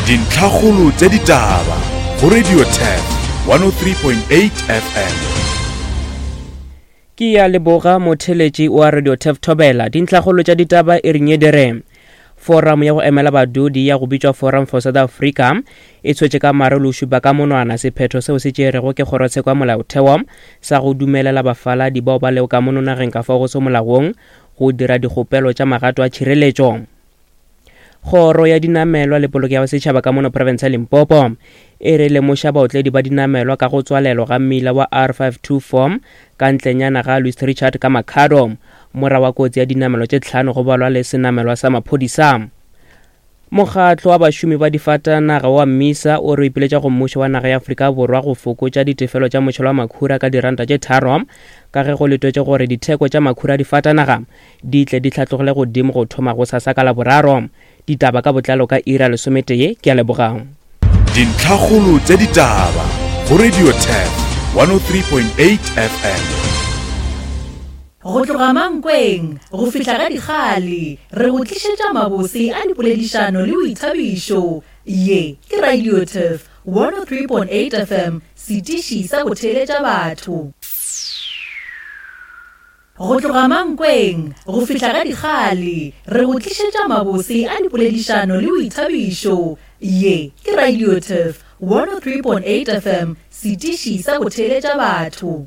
Dintlhakgolo tša ditaba go Radio Turf 103.8 FM. Ke ya leboga motheletši wa Radio Turf Thobela. Dintlhakgolo tša ditaba e reng e dire. Forum ya go emela badudi ya go bitšwa Forum for South Africa e tshwetše ka mare le šupa ka monwana sephetho seo se tšerego ke kgorotsheko ya molaotheo sa go dumelela bafaladi bao ba lego ka mono nageng ka fao go se molaong go dira dikgopelo tša magato a tšhireletšo. Kgoro ya dinamelwa le poloko ya setšhaba ka mono profense ya Limpopo e re lemoša baotledi ba dinamelwa ka go tswalelwa ga mmila wa R524 ka ntlenyana ga Louis Richard ka Makhado mora wa kotsi ya dinamelwa tše tlhano go balwa le senamelwa sa maphodisa. Mokgatlo wa bašomi ba difatanaga wa Mmisa o re o ipiletša go mmušo wa naga ya Afrika Borwa go fokotša ditefelo tša motšhelo wa makhura ka diranta tše tharo ka ge go letwetše gore ditheko tša makhura a difatanaga di tle di hlatlogele godimo go thoma go sasa ka Laboraro. Ditaba ka botlalo ka iri ya lesometee. Ke a leboga. Dintlhakgolo tša ditaba go Radio Turf 103.8 FM. Go tloga Mankweng go fihla ga Dikgale, re go tlišetša mabose a dipoledišano le boithabišo. Ye ke Radio Turf 103.8 FM, setiši sa go theeletša batho. Go tloga Mankweng go fihla ga Dikgale, re go tlišetša mabose a dipoledišano le boithabišo. Ye ke Radio Turf 103.8 FM, setiši sa go theeletša batho.